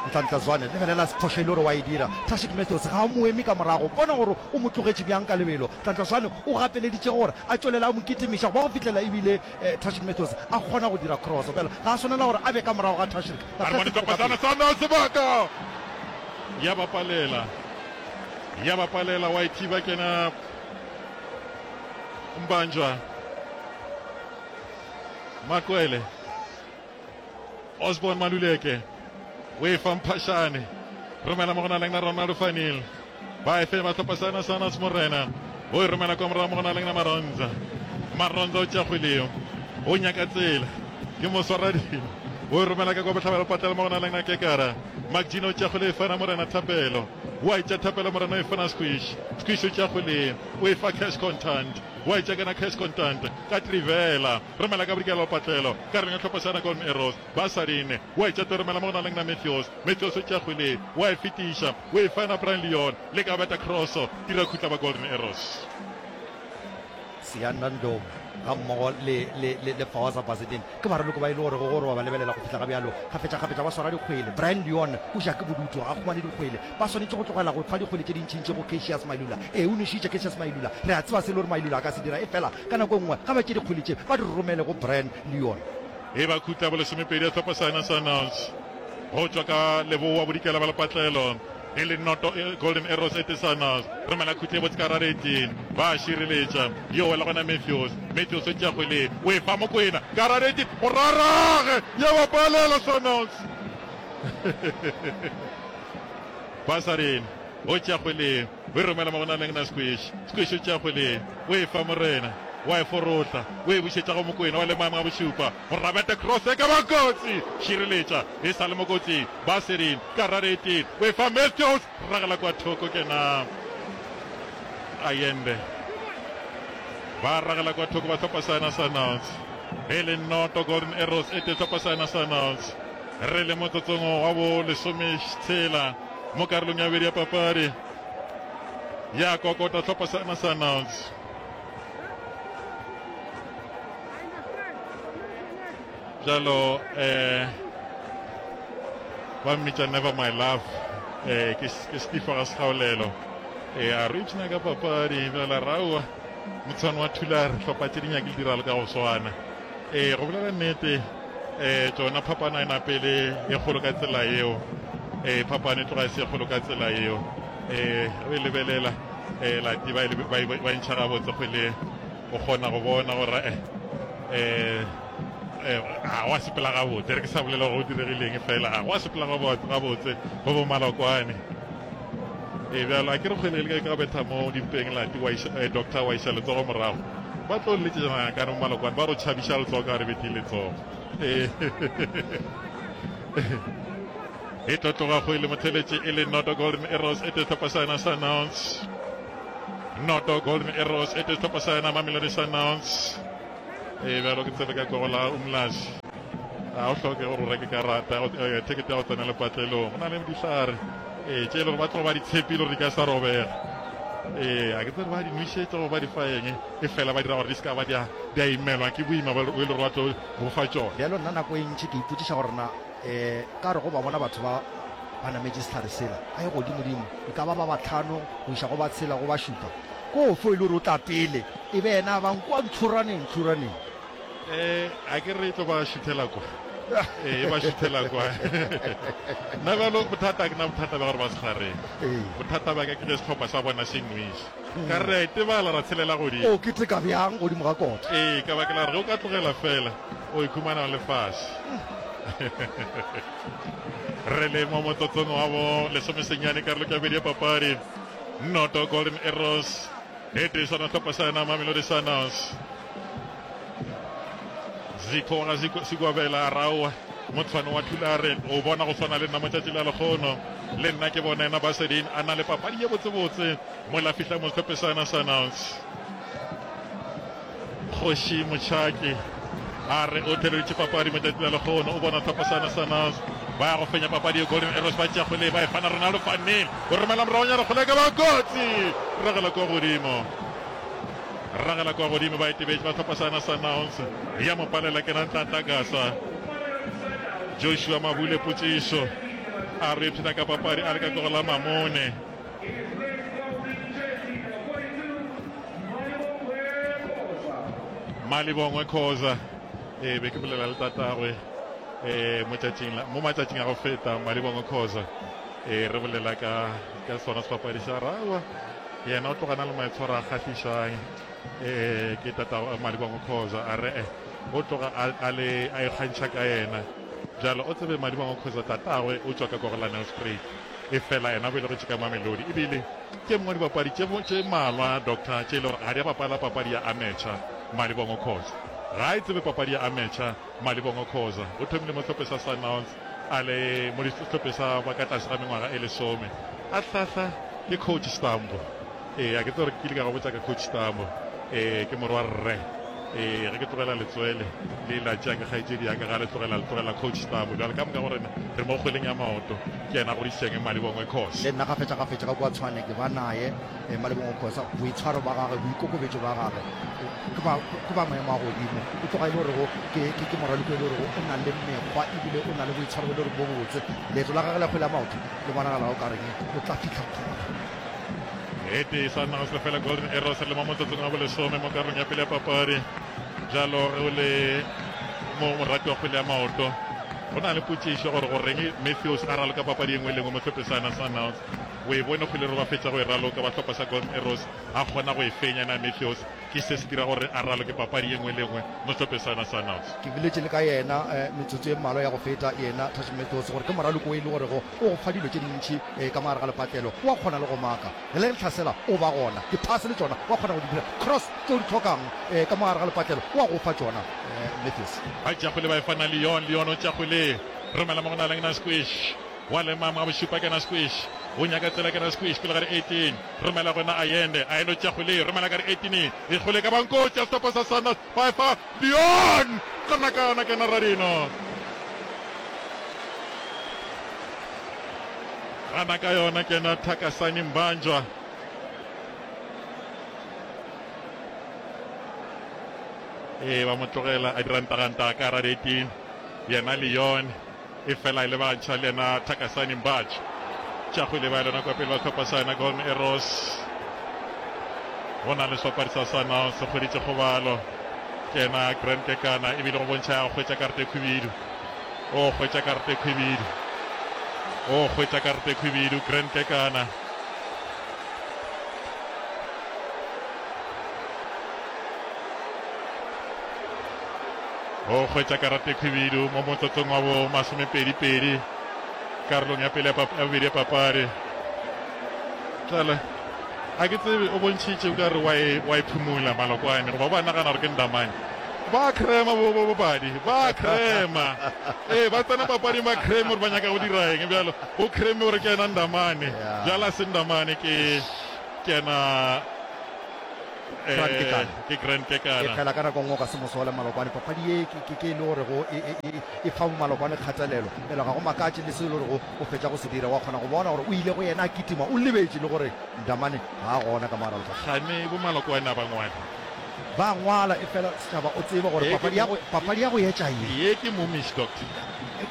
Nhlanhla Zwane, lebelela phošo e le gore wa e dira. Tashik Matthews ga a mo eme ka morago. Bona gore o mo tlogetše bjang ka lebelo. Nhlanhla Zwane o gapeleditše gore a tšwelele a mo kitimiša go ba go fihlela ebile Tashik Matthews a kgona go dira cross. Bjale ga a swanela gore a be ka morago ga Tashik. A re bone sehlopha sa Sundowns sebaka. Ya ba palela. Ya ba palela wa e thiba kena Mbanjwa. Makwele. Osborne Maluleke o e fa Mphashane. Romela mo go na leng na Ronaldo Fanil. Ba e fe ba hlopha sa Sundowns Morena. O e romela kwa morago mo go na leng na Maronza. Maronza o tšea kgwele eo. O nyaka tsela. Ke moswaradimo. O e romela ka kwa bohlabela patela mo go na leng na Kekara. McGene o tšea kgwele e fana Morena Thapelo. O a e tšea Thapelo Morena o e fana Squish. Squish o tšea kgwele o e fa Cash Contant. O a e tšea kana Cash Contant ka Trivela. Romela ka bodikela patlelo karolong ya hlopha sa Golden Arrows. Basadin wa e tšea romela mo go na leng na Matthews. Matthews o tšea kgwele wa e fetiša o e fa yena Brian Leon. Leka go beta cross, dira khutla ba Golden Arrows. Siyanda Ndlovu gammogo le, le, le, le Fawaza Basadien ke baraloko ba e le gorego gore wa ba lebelela go fihla ga bjalo kgafetšakgafetša ba swara dikgwele. Brayan Leon o ja ke bodutu, ga a humane dikgwele. Ba swanetše go tlogela go fa dikgwele tše dintšintši go Cassius Mailula. Ee, o nwešitše Cassius Mailula. Re a tseba se e le gore Mailula a ka se dira, efela ka nako e nngwe ga ba tšee dikgwele tše ba di romele go Brayan Leon. E ba khutla bolesomepedi ya sehlopha sa yona Sundowns go tšwa ka leboa bodikela ba lepatlelo e le noto e Golden Arrows e tee Sundowns romela khutla e botse ka rareting ba a šireletša yo wela gona Matthews Matthews o tšea kgwele o e fa Mokwena ka rareting go rarage ya ba palela Sundowns Basarin o tšea kgwele o e romela mo go na leng na Squish Squish o tšea kgwele o e fa Morena wa e forotla o e bušetša go Mokwena wa le maemo a bošupa go rabeta cross e ka ba kotsi šireletša e sa le mo kotsing Basarin ka rareting o e fa Matthews ragela kwa thoko kena Ayende ba ragela kwa thoko ba hlopha sa yona Sundowns e le noto Golden Arrows e tee hlopha sa yona Sundowns Re le motsotsong wa bo lesometshela mo karolong ya bobedi ya papadi ya kokota hlopha sa na Sundowns. Bjalo eh ba mmitša Never My Love eh ke ke Steve ga Segaolelo eh a re ipshina ka papadi bjala raua motshwane wa Thulare hlopha tše di nyake di ralo ka go swana eh go bolela nnete Ee, tšona phapano e napele e kgolo ka tsela yeo. Ee, phapano e tloga e se e kgolo ka tsela yeo. Ee, o e lebelela, ee, lati ba e ba e ba e ntšha gabotse kgwele, o kgona go bona gore eh, eh, eh, ga wa sepela gabotse. Re ke sa bolela gore go diregileng fela, ga wa sepela gabotse go bo Malokwane. Ee, bjalo a ke re kgwele e le ka betha mo dimpeng lati wa iša, eh, doctor wa iša letsogo morago. Ba tlo letšetša ngakane mo Malokwane ba re o tšhabiša letsogo ka re bethile letsogo. Ee. E tlo tloga kgwele motheletše e le Noto Golden Arrows e tee hlopha sa yona Sundowns. Noto Golden Arrows e tee hlopha sa yona Mamelodi Sundowns. Ee, bjalo ke tsebe ka kogo la Umlazi. Ga o hloke gore o reke karata, eh, thekete ya go tsena lepatlelong. Go na le dihlare ee tše e le gore ba tlo ba di tshepile gore di ka sa robega. Ee, a ke tsebe ba di nwešetša goba ba di fa eng, e fela ba dira gore di se ka ba di a imelwa ke boima bo e le gore ba tlo bo fa tšona. Bjalo nna nako e ntši ke ipotšiša gore na um ka re go ba bona batho ba ba nametše sehlare sela ba ye godimodimo, e ka ba ba bahlano go iša go ba tshela go ba šupa, ke ofe e le gore o tla pele e be yena a bang kua ntlhoraneng ntlhoraneng? Eh, a ke re e tlo ba šuthela kwa. Eh, e ba šuthela kwa. Nna bjalo bothata ke na bothata bja gore ba sehlareng. Bothata bja ka ke ge sehlopha sa bona se nweša. Ka re re a itebala ra tshelela godimo. O keteka bjang godimo ga kota? Ee, ka baka la gore ge o ka tlogela fela o ikhumana o le fase. Re le mo motsotsong wa bo lesomesenyane karolo ke ya bobedi ya papadi. Noto Golden Arrows e tee sona sehlopha sa yona Mamelodi Sundowns. Ziko wa ga Ziko Sigwabela a raowa motshwane wa Thulare o bona go swana le nna motšatši la lekgono le nna ke bona yena Basedin a na le papadi ye botsebotse mola fihla mo sehlophe sa yona Sundowns. Kgoši Motšhaki a re o theleditše papadi motšatši la lekgono o bona sehlopha sa yona Sundowns ba ya go fenya papadi ye Golden Arrows ba tšea kgwele ba e fana Ronaldo van Neel o romela moragonyana kgwele e ka ba kotsi ragela kwa godimo. Ragela kwa godimo ba etebetše ba hlopha sa yona Sundowns ya mo palela ke Ntlantla Gasa. Joshua Mabule Potsišo a re ipshina ka papadi a le ka tlogo la Mamone. Malibongwe Khoza e be ke bolela le tatagwe e motšatšing la mo matšatšing a go feta Malibongwe Khoza e re bolela ka ka sona sebapadi sa rawa Yena o tloga na le maitshwaro a kgahlišang. Ee, ke tatago Madibango Khoza. A re, eh, o tloga a, a le, a ikgantšha ka yena. Bjalo o tsebe Madibango Khoza tatagwe o tšwa ka kwa go la Nelspruit. Efela yena o belegetšwe ka Mamelodi. Ebile ke mongwe wa dibapadi tše, tše mmalwa, Doctor, tše e le gore ga di a bapala papadi ya amateur. Madibango Khoza ga a e tsebe papadi ya amateur. Malibongwe Khoza o thomile mo sehlopheng sa Sundowns a le mo sehlopheng sa ba ka tlase ga mengwaga e lesome. A hlahla ke Coach Stambo. Ee, a ke tsebe gore ke kile ka go botša ka Coach Stambo. Ee, ke morwa rre. Ee, ge ke tlogela letswele le la tšea ke kgaetšedi ya ka, ga le tlogela le tlogela coach Stabo. Bjale ka moka go rena re mo kgweleng ya maoto, ke yena a godišitšeng Malibongwe Khosa. Le nna kgafetšakgafetša ka kua Tshwane ke ba naye Malibongwe Khosa. Boitshwaro ba gagwe, boikokobetšo ba gagwe ke ba, ke ba maemo a godimo. E tloga e le gorego ke, ke, ke moraloko e le gorego o na le mekgwa ebile o na le boitshwaro bo e le goreng bo botse. Leeto la gagwe la kgwele ya maoto le bonagala o ka reng o tla fihla kgole. E tee sa naga se lefela Golden Arrows re le mo motsotsong wa bolesome mo karolong ya pele ya papadi. Bjalo ge o le mo morati wa kgwele ya maoto go na le potšišo gore goreng Matthews a raloka papadi e nngwe le nngwe mo hlophe sa Sundowns. O e bone kgwele re ba fetša go e raloka ba hlopha sa Golden Arrows a kgona go e fenya na Matthews ke se se dira gore a raloke papadi e nngwe le nngwe mo hlophe sa Sundowns. Ke boletše le ka yena metsotso e mmalwa ya go feta, yena Touch Matthews, gore ke moraloko o e le gorego o go fa dilo tše dintši ka mo gare ga lepatlelo. O a kgona le go maka. Ge le hlasela, o ba gona. Diphase le tšona o a kgona go di dira. Cross tše o di hlokang ka mo gare ga lepatlelo, o a go fa tšona, Matthews. Ba tšea kgwele ba e fa na Leon. Leon o tšea kgwele, romela mo go na leng na Squish. Wa lema mo ga bošupa ke na Squish. O nyaka tsela ke na Squish pele ga di 18. Romela go na Allende. Allende o tšea kgwele, romela ka di 18. E kgwele ka bankotsi ya sehlopha sa Sundowns. Ba e fa Leon. Gana ka yona ke na Radino. Gana ka yona ke na Thakasani Mbanjwa. Ee, ba mo tlogela a dira ntagantag ka gara 18. Yena Leon e fela e lebantšha le yena Thakasani Mbanjwa. Tša go ile ba lona kwa pele ba hlopha sa yona Golden Arrows. Go na le sebapadi sa Sundowns se hweditše kgobalo. Ke yena Grant Kekana ebile go bontšha ya go hwetša karata e khwibidu. O hwetša karata e khwibidu. O hwetša karata e khwibidu Grant Kekana. O hwetša karata e khwibidu mo motsotsong wa bo masomepedi-pedi karolong ya pele ya bobedi ya papadi. Tlala a ke tsebe o bontšhitše o ka re wa e, wa e phumula malokwane goba ba nagana gore ke ndamane. Ba crema bo bo bobadi, ba crema. Ee, ba tsena papading ba creme gore ba nyaka go dira eng bjalo. O creme gore ke yena ndamane. Bjalo a se ndamane ke ke yena Grand Kekana. Ke Grand Kekana. E fela ka nako nngwe o ka se mo sole Malokwane. Papadi ye ke, ke, ke e le gorego e, e, e, e fa Malokwane kgatelelo. Bjale ga go makatše le se e le gorego o fetša go se dira. Wa kgona go bona gore o ile go yena a kitima, o lebetše le gore Ndamane ga a gona ka mo gare ga lefase. Kgane bo Malokwane a ba ngwale. Ba ngwala, efela setšhaba o tsebe gore papadi ya go, papadi ya go etša ye. Ye ke momish, doctor.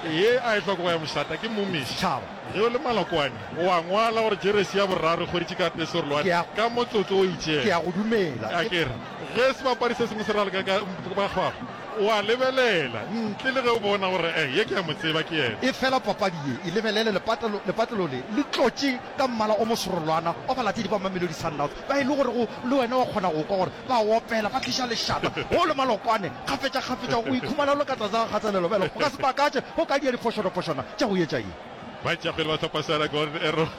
Ye a e hloko go ya mošata, ke momish. Setšhaba. Ge o le Malokwane, o a ngwala gore jeresi ya boraro e hweditše ka Pesorolwane ka motsotso o itšego. Ke a go dumela. A ke re, ge sebapadi se sengwe se raloka ka bakgwakgwa, o a lebelela, ntle le ge o bona gore, eh, ye ke a mo tseba, ke yena. Efela papadi ye, e lebelele, lepatlelo, lepatlelo le, le tlotše ka mmala o mosorolwana wa balatedi ba Mamelodi Sundowns, ba e le gorego le wena wa kgona go kwa gore ba opela, ba tliša lešata. Ge o le Malokwane, kgafetšakgafetša o ikhumana o le ka tlase ga kgatelelo. Bjale go ka se makatše ge o ka dia diphošonophošwana tša go etša ye. Ba tšea kgwele ba hlopha Sarah Golden Arrows.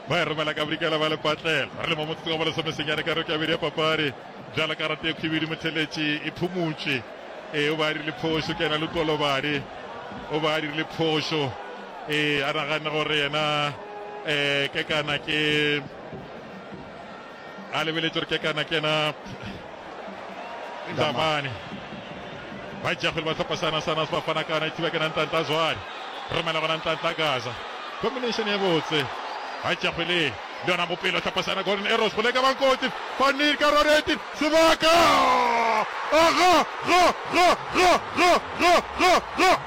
Ba e romela ka bodikela ba lepatlela. Re le mo motsotsong wa bolesomesenyane ka roko ya bobedi ya papadi. Bjalo karata e khwibidu motheletši e phumutšwe. Ee, o be a dirile phošo, ke yena Lukolobadi. O be a dirile phošo. Ee, a naganne gore yena um Kekana ke a lebeletše gore Kekana ke yena Ndamane. Ba tšea kgwele ba hlopha sana sana se ba fana kana e thiba ke na Ntlantla Zwane. Romela gona Ntlantla Gaza. Combination ye botse. Ba tšea kgwele le yona Mopelo hlopha sana Golden Arrows go leka Bankotsi. Van ka Roreti Sebaka! A ga, ga, ga, ga, ga, ga, ga, ga!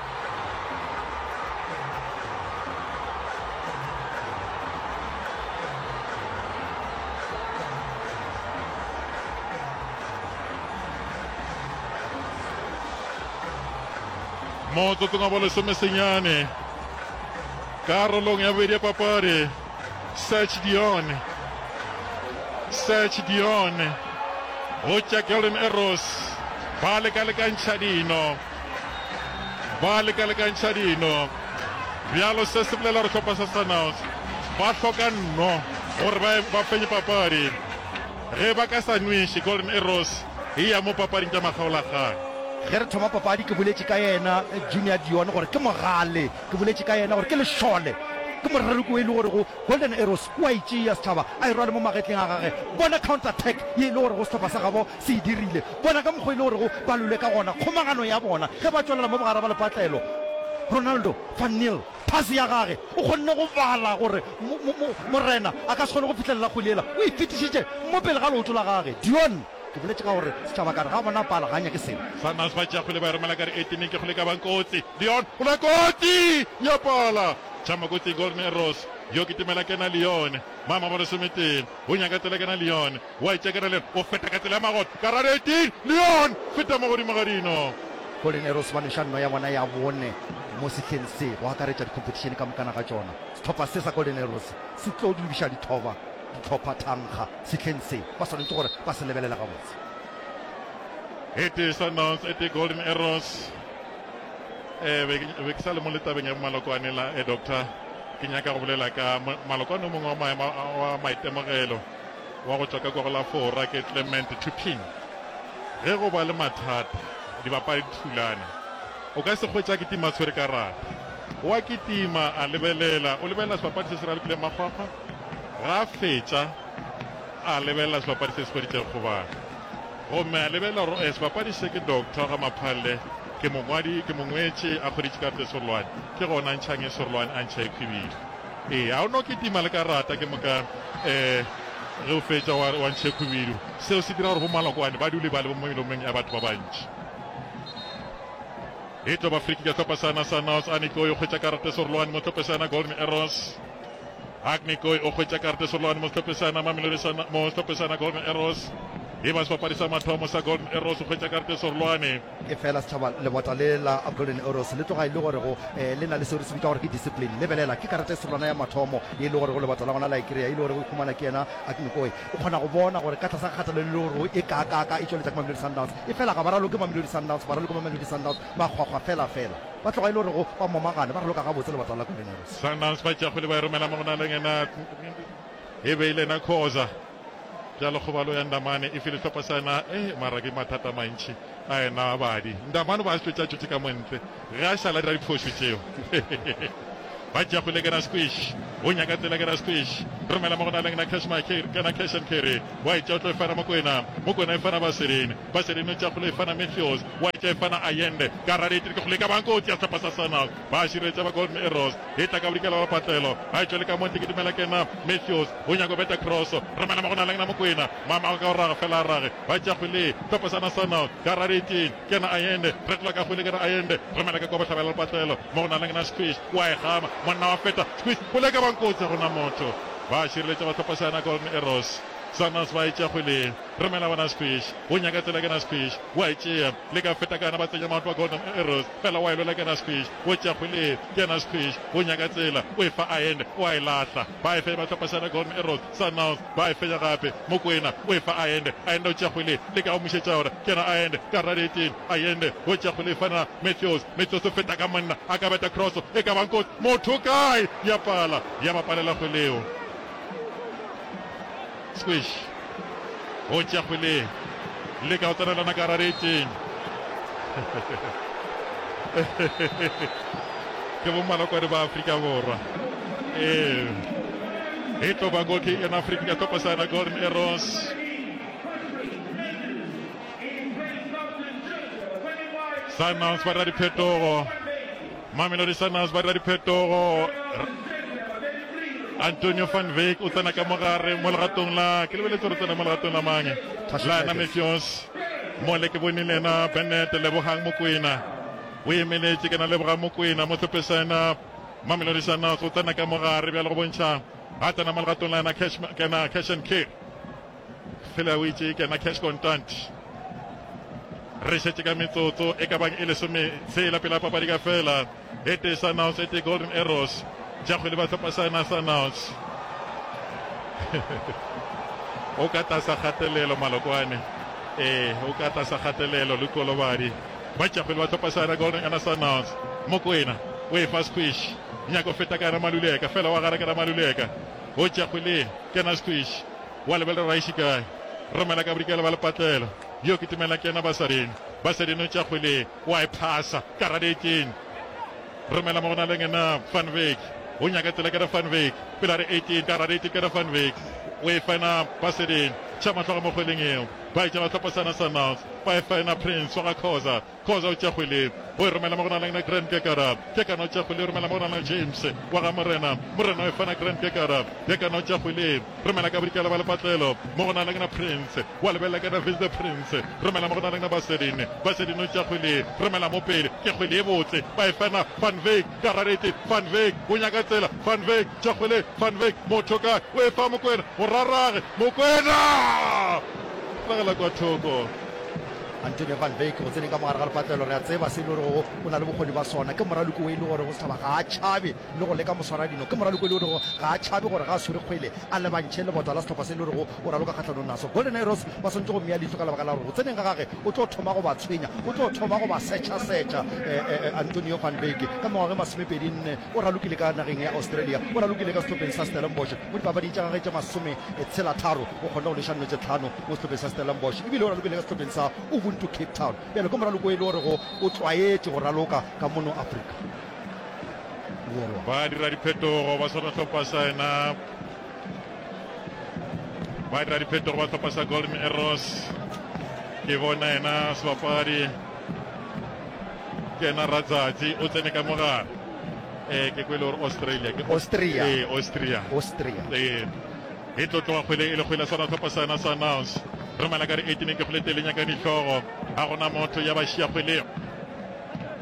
Motsotsong wa bolesomesenyane karolong ya bobedi ya papadi. Serge Dion, Serge Dion go tša Golden Arrows ba leka-lekantšha dino, ba leka-lekantšha dino. Bjalo se se bolela gore hlopha sa Sundowns ba hloka nno gore ba, ba fenye papadi. Ge ba ka sa nweše, Golden Arrows e ya mo papading tša makgaolakgang. Ge re thoma papadi ke boletše ka yena Junior Dion gore ke mogale. Ke boletše ka yena gore ke lešole. Ke moraroko e le gorego Golden Arrows o a e tšea setšhaba a e rwale mo magetleng a gage. Bona counter attack ye e le gorego sehlopha sa gabo se e dirile. Bona ka mokgwa e le gorego ba lwele ka gona, kgomagano ya bona ge ba tšwelela mo bogare ba lepatlelo. Ronaldo van Neel, phase ya gage, o kgonne go bala gore mo, mo, mo, Morena a ka se kgone go fihlelela kgwele yela. O e fetišitše mo pele ga leoto la gage. Dion, ke boletše ka gore setšhaba ka re ga a bona pala ga a nyake selo. Sundowns ba tšea kgwele ba e romela ka re 18 ke kgwele e ka bang kotsi. Dion o la kotsi! Ya pala! Tšhama kotsi Golden Arrows yo kitimela kena Leon. Mama ba lesometee o nyaka tsela kena Leon. Wa e tšea kena Leon o feta ka tsela ya magot ka ra 18 Leon feta mo godimo ga dino. Golden Arrows ba nweša nno ya bona ya bone mo sehleng se go akaretša dikhompetišene ka mokana ga tšona. Sehlopha se sa Golden Arrows se tlo dubiša dithoba dihlopha thankga sehleng se, ba swanetše gore ba se lebelele gabotse. E tee Sundowns, e tee Golden Arrows. Eh, be ke be ke sa le mo le tabeng ya malokwane la eh, doctor, ke nyaka go bolela ka malokwane o mongwe wa maemo wa maitemogelo wa go tšwa ka kwa go la Fora ke Clement Turpin. Ge go ba le mathata, dibapadi di thulana, o ka se hwetše a kitima a tshwere karata. O a kitima a lebelela, o lebelela sebapadi se se ralokileng makgwakgwa, ga a fetša a lebelela sebapadi se se hweditšego kgobalo. Gomme a lebelela gore eh, sebapadi se ke Doctor ga Maphalle, ke mongwadi, ke mongwetši, a hweditše karata e serolwane, ke gona a ntšhang e serolwane, a ntšha e khwibidu. Ee, a o no kitima le karata ke moka eh, ge o fetša wa, wa ntšha e khwibidu. Seo se dira gore bomalokwane ba dule ba le mo melomong ya batho ba bantši. E tlo ba free kick ya sehlopha sa Sundowns. Anikoi o hwetša karata e serolwane mo sehlophe sa Golden Arrows. Agnikoi o hwetša karata e serolwane mo sehlophe sa Mamelodi sa mo sehlophe sa Golden Arrows. E ba sebapadi sa mathomo sa Golden Arrows o hwetša karata e serolwane. Efela setšhaba lebota le la Golden Arrows le tloga e le gore go eh, le na le seo re se bitša gore ke discipline. Lebelela, ke karata e serolwana ya mathomo ye e le gore go lebota la gona la e kry-a, e le gore go ikhumana ke yena Agnikoi. O kgona go bona gore ka tlasa kgatelelo e le gore e kaakaaka e tšweletša ke Mamelodi Sundowns, efela ga ba raloke Mamelodi Sundowns, ba raloke Mamelodi Sundowns makgwakgwa fela fela. Ba tloga e le gore go ba momagane, ba raloka gabotse lebota la Golden Arrows. Sundowns ba tšea kgwele ba e romela mo go na le yena e be e le yena Khoza. Bjalo kgobalo ya Ndamane e file sehlopha sa yena eh mara ke mathata a mantši a yena badi. Ndamane o ba a se tšwetše a tšwetše ka montle ge a šala a dira diphošo tšeo. Ba tšea kgwele kena Squish o nyaka tsela kena Squish romela mo go na le yena Cash Makeri kena Cash and Carry wa e tšea o tlo e fana Mokwena Mokwena e fana Basereni Basereni o tšea kgwele e fana Matthews wa e tšea e fana Allende ka radiator ke kgwele e ka bang kotsi ya sehlopha sa Sundowns ba šireletša ba Golden Arrows e tla ka bodikela ba patlelo a e tšwele ka montle ke dumela kena Matthews O nyaka go beta cross, romela mo go na le yena Mokwena, mama ka go raga fela a rage, ba tšea kgwele, hlopha sa National, ka rareteng, ke yena Ayende, retola ka kgwele ke re Ayende, romela ka kwa bohlabela lepatlelo, mo go na le yena Squish, o a e gama, monna wa feta, Squish, kgwele e ka bang kotsi, ga gona motho, ba šireletša ba hlopha sa yena Golden Arrows, Sundowns ba e tšea kgwele, romela bona Squish, o nyaka tsela ke yena Squish, o a e tšea, leka feta ka yena ba tsenya maoto a Golden Arrows, fela o a e lwela ke yena Squish, o tšea kgwele, ke yena Squish, o nyaka tsela, o e fa Ayende, o a e lahla. Ba e fenya ba hlopha Sena Golden Arrows, Sundowns ba e fenya gape. Mokwena o e fa Ayende, Ayende o tšea kgwele, leka go mmušetša yona. Ke yena Ayende ka radiating, Ayende o tšea kgwele e fana Matthews, Matthews o feta ka monna, a ka beta cross e ka bang kotsi, motho kae? Ya pala, ya ba palela kgwele eo. Squish o tšea kgwele, leka go tsenelana ka radiating. Ke bommalokwane ba Afrika Borwa. Ee, e tlo ba goal kick yona Afrika ka hlopha sa yona Golden Arrows. Sundowns ba dira diphetogo. Mamelodi Sundowns ba dira diphetogo. Antonio van Wyk o tsena ka mogare mo legatong la ke lebeletse gore tsena mo legatong la mang la ena Matthews mole ke bone le ena Bennett Lebogang Mokwena o emeletše ke na Lebogang Mokwena mo hlophe sa ena Mamelodi Sundowns o tsena ka mogare bjale go bontšha a tsena mo legatong la ena Cash kena Cash and Carry fela o itše kena Cash Contant re šetše ka metsotso e ka bang e lesometshela pele papadi ka fela E tee Sundowns, e tee Golden Arrows. Tša kgwele ba hlopha sa Sundowns. O ka tlasa kgatelelo Malokwane. Ee, o ka tlasa kgatelelo Lukolobadi. Ba tša kgwele ba hlopha sa Golden Arrows Sundowns. Mokwena o e fa Squish. Nyako feta ka yena Maluleka, fela wa gara ke Maluleka. O tša kgwele kena Squish. Wa lebelela Raishi kae. Romela ka bodikela ba lepatlelo. Yo kitimela kena Basading. Basading o tša kgwele. Wa e phasa ka radekeng. Romela mo go na le ngena Van Wyk. O nyaka tsela ke Van Wyk. Pele a re 18 ka gare 18 ke Van Wyk. O e fena Basedin. Tšha mahlo ga mo kgweleng eo. Ba e tšea ba hlopha sana Sundowns. Ba e fena Prince wa ga Khoza. Khoza o tšea kgwele. O e romela mo go na le Grant Kekara. Kekana o tšea kgwele o romela mo go na le James wa ga Morena. Morena o e fena Grant Kekara. Kekana o tšea kgwele. Romela ka bodikela ba lepatlelo mo go na le na Prince. Wa lebelela ka na Vince the Prince. Romela mo go na le na Basedin. Basedin o tšea kgwele. Romela mo pele. Ke kgwele e botse. Ba e fena Van Wyk. Ka rarete Van Wyk o nyaka tsela. Van Wyk tšea kgwele. Van Wyk motho kae? O e fa Mokwena. Morarage Mokwena! Ragela kwa thoko. Antonio Van Wyk go tseneng ka mogare ga lepatlelo, re a tseba se e le gorego o na le bokgoni ba sona. Ke moraloki o e le gorego setšhaba ga a tšhabe le go leka moswaradino. Ke moraloki o e le gorego ga a tšhabe gore ga a swere kgwele a lebantšhe lebota la sehlopha se e le gorego o raloka kgahlanong naso. Golden Arrows ba swanetše go mmea leihlo ka lebaka la gore go tseneng ga gage o tlo thoma go ba tshwenya, o tlo thoma go ba setšhasetša. Antonio Van Wyk ka mengwaga e masomepedinne o ralokile ka nageng ya Australia, o ralokile ka sehlopheng sa Stellenbosch mo dipapading tša gagwe tše masometshela-tharo, o kgonne go leša nno tše tlhano mo sehlopheng sa Stellenbosch ebile o ralokile ka sehlopheng sa Ubuntu Cape Town. Bjale ke moraloko e le gorego o tlwaetše go raloka ka mono Afrika Borwa. Ba dira diphetogo ba swana hlopha sa yena ba dira diphetogo ba hlopha sa Golden Arrows. Ke bona yena sebapadi ke yena Ratsatsi o tsene ka mogare. Eh ke kwele gore Australia ke Austria. Eh Austria. Austria. Eh e tlo tloga kgwele e le kgwele sona hlopha sa yena Sundowns. Romela ka re 18 ke kgwele tele nyaka dihlogo. Ga gona motho ya ba šia kgwele.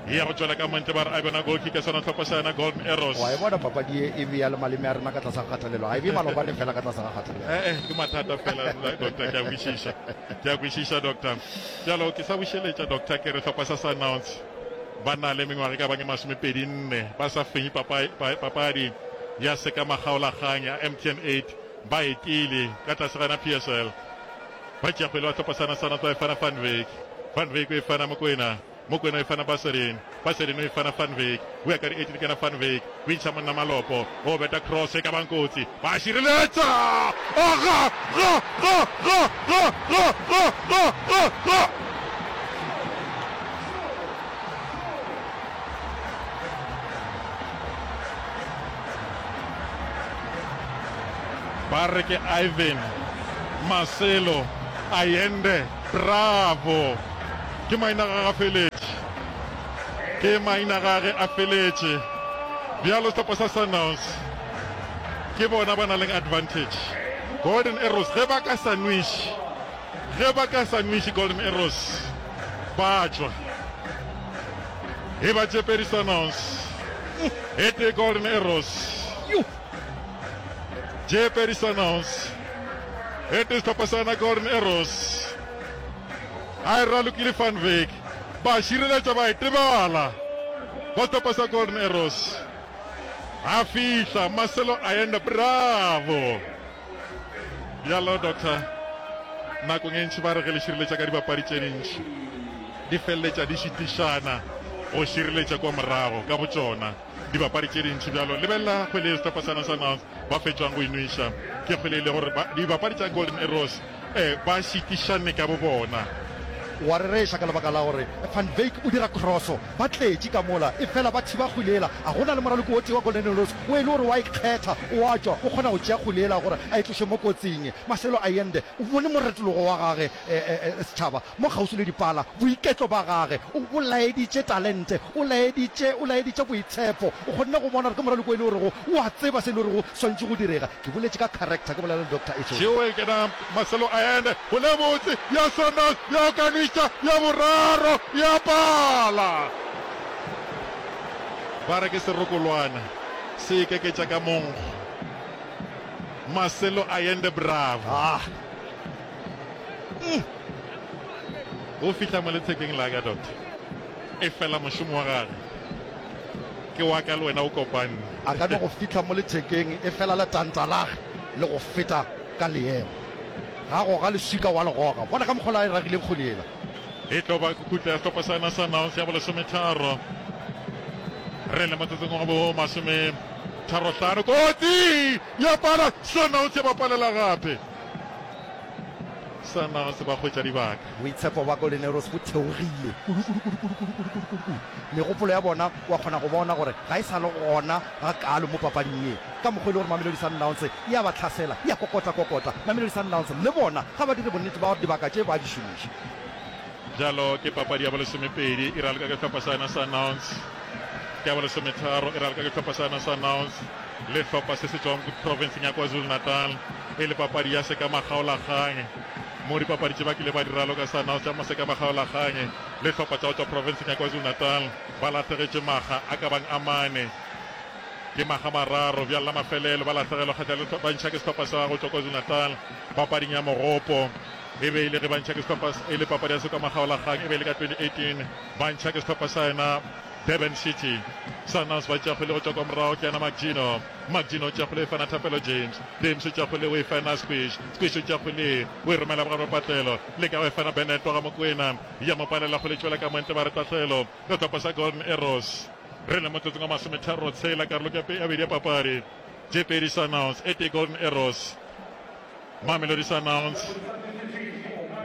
E ya go tšwela ka montle ba re a bona goal kick ya sona hlopha sa yena Golden Arrows. Wa e bona papadi ye e bea le maleme a rena ka tlase ga kgatelelo. Ga e bee malobane fela ka tlase ga kgatelelo. Eh eh ke mathata fela doctor ke a kwešiša. Ke a kwešiša doctor. Bjalo ke sa bušeletša doctor ke re hlopha sa Sundowns ba na le mengwaga e ka bang e masomepedi nne ba sa fenye papadi ya sekamakgaolakgang ya MTN 8 ba etile ka tlase ga yona PSL. Ba tšea kgwele ba hlopha sana sana ba e fana Van Wyk. Van Wyk o e fana Mokoena. Mokoena o e fana Baserin. Baserin o e fana Van Wyk. O ya ka di 18 ke yena Van Wyk. O intšha monna malopo. O beta cross e ka bang kotsi. Ba šireletša! A ga! Ga! Ga! Ga! Ga! Ga! Ga! Ga! Ga! Ga! Ba re ke Ivan Marcelo Allende Bravo. Ke maina gage a feletše. Ke maina gage a feletše. Bjalo sehlopha sa Sundowns ke bona ba na leng advantage. Golden Arrows ge ba ka sa nweše, ge ba ka sa nweše Golden Arrows ba tšwa. E ba tše pedi Sundowns, e tee Golden Arrows. Tše pedi Sundowns, e tee sehlopha sa yona Golden Arrows. A e ralokile Van Wyk, ba šireletša ba e tebala ba sehlopha sa Golden Arrows. A fihla Marcelo Allende, bravo! Bjalo Doctor, nakong e ntši ba re ge le šireletša ka dibapadi tše dintši, di feleletša di šitišana go šireletša kua morago ka botšona dibapadi tše dintši. Bjalo lebelela kgwele ye sehlopha sa Sundowns ba fetšwang go e nweša, ke kgwele e le gore dibapadi tša Golden Arrows eh, ba šitišane ka bobona. O a rereša ka lebaka la gore Van Wyk o dira kroso. Ba tletše ka mola, efela ba thiba kgwele yela. A go na le moraloki o tee wa Golden Arrows o e le gore o a ikgetha, o a tšwa, o kgona go tšea kgwele yela gore a e tloše mo kotsing. Marcelo Allende o bone moretologo wa gage, setšhaba, mo kgauswi le dipala, boiketlo ba gage. O, o laeditše talente, o laeditše, o laeditše boitshepo. O kgonne go bona gore ke moraloki o e le gorego o a tseba se e le gorego swantše go direga. Ke boletše ka character, ke bolela le Doctor Etšo. Tšeo e kena Marcelo Allende go le botse ya Sundowns ya okaniša ya boraro ya pala. Ba re ke serokolwana se ikeketša ka monkgo. Marcelo Allende bravo. Ah. Mm. O fihla mo lethekeng la ka doctor. E fela mošomo wa gage ke wa ka le wena o kopane. A ka no go fihla mo lethekeng e fela letanta lage le go feta ka leemo. Ga goga leswika wa le goga. Bona ka mokgwa la e ragileng kgwele yela. E tlo ba khutla ya sehlopha sa Sundowns ya bolesometharo. Re le motsotsong wa bo masometharohlano. Kotsi ya pala Sundowns ya ba palela gape. Sundowns ba hwetša dibaka. Boitshepo ba Golden Arrows bo theogile kudu kudu kudu kudu kudu kudu kudu kudu kudu. Megopolo ya bona wa kgona go bona gore ga e sa le gona gakaalo mo papading ye. Ka mokgwa e le gore Mamelodi Sundowns e a ba hlasela, e a kokota-kokota. Mamelodi Sundowns le bona ga ba dire bonnete ba gore dibaka tše ba di šomiša. Bjalo ke papadi ya bolesomepedi e raloka ke hlopha sa yona Sundowns. Ke ya bolesometharo e raloka ke hlopha sa yona Sundowns le hlopha se se tšwang profenseng ya KwaZulu-Natal e le papadi ya sekamakgaolakgang mo dipapadi tše ba kile ba di raloka Sundowns tša masekabakgaolakgang le hlopha tša go tšwa profenseng ya KwaZulu-Natal ba lahlegetšwe makga a ka bang a mane ke makga mararo bjalo la mafelelo ba lahlegelwa kgahlanong le ba ntšha ke sehlopha sa go tšwa KwaZulu-Natal papading ya mogopo E be e le ge ba ntšha ke sehlopha e le papadi ya sekwamagaolakgang e be e le ka 2018 ba ntšha ke sehlopha sa yena Durban City. Sundowns ba tšea kgwele go tšwa kwa morago ke yena Mark-Gino. Mark-Gino o tšea kgwele e fana Thapelo James. James o tšea kgwele o e fana Squish. Squish o tšea kgwele o e romela bogare bja patlelo. Leka go e fana Bennett wa ga Mokoena. Ya mo palela kgwele e tšwela ka montle ba re tahlelo ka sehlopha sa Golden Arrows. Re le motsotsong wa masometharo tshela karolo ke ya bobedi ya papadi. Tše pedi Sundowns e tee Golden Arrows. Mamelodi Sundowns.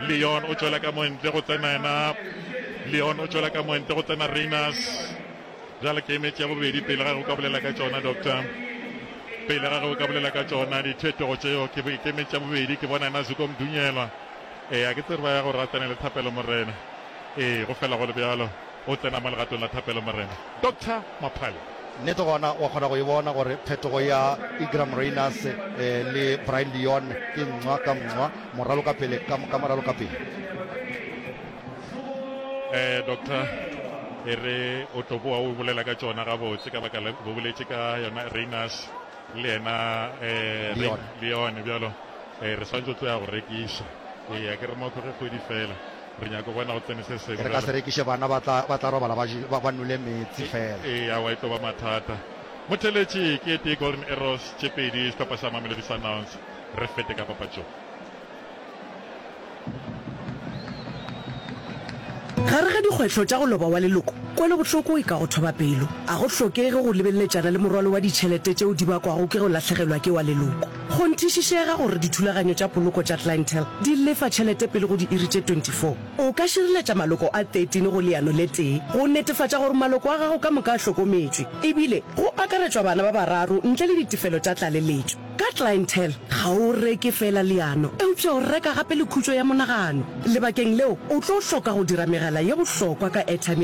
Leon o tšwela ka montle go tsena yena. Leon o tšwela ka montle go tsena Rayners. Bjale ke emetše ya bobedi pele ga ge o ka bolela ka tšona doctor. Pele ga ge o ka bolela ka tšona diphetogo tšeo ke emetše ya bobedi ke bona yena Zuko Mdunyelwa. Ee, a ke tsebe ba ya gore a tsene le Thapelo Morena. Ee, go fela go le bjalo o tsena mo legatong la Thapelo Morena. Doctor Maphale. Nnete gona wa kgona go e bona gore phetogo ya Igram Rayners le Brian Leon ke nqwa ka nqwa, moralo ka pele ka ka moralo ka pele. Eh, Doctor, e re o tlo boa o bolela ka tšona gabotse ka baka la bo boletše ka yona Rayners le yena eh, Leon. Leon bjalo eh, re swanetše go tlo ya go rekiša. Ee, a ke re mokho ge kgwedi fela. Re nyaka go bona go tsene se sengwe Re ka se bjalo. rekiše bana ba tla, ba tla robala ba je, ba, ba nwele meetse fela. Ee, aowa e tlo ba mathata. Motheletši ke e tee Golden Arrows, tše pedi sehlopha sa Mamelodi Sundowns. Re fete ka papatšong. Gare ga dikgwetlho tša go loba wa leloko, kwelobohloko e ka go thoba pelo. A go hlokege go lebeleletšana le morwalo wa ditšhelete tšeo di bakwago ke go lahlegelwa ke wa leloko. Kgonthišišega gore dithulaganyo tša poloko tša Clientele di lefa tšhelete pele go diiri tše 24. O ka šireletša maloko a 13 go leano le tee go netefatša gore maloko a gago ka moka a hlokometšwe, ebile go akaretšwa bana ba bararo ntle le ditefelo tša tlaleletšo. Ka Clientele, ga o reke feela leano, eupša o reka gape le khutšo ya monagano. Lebakeng leo, o tlo hloka go dira megala ye bohlokwa ka airtime ya.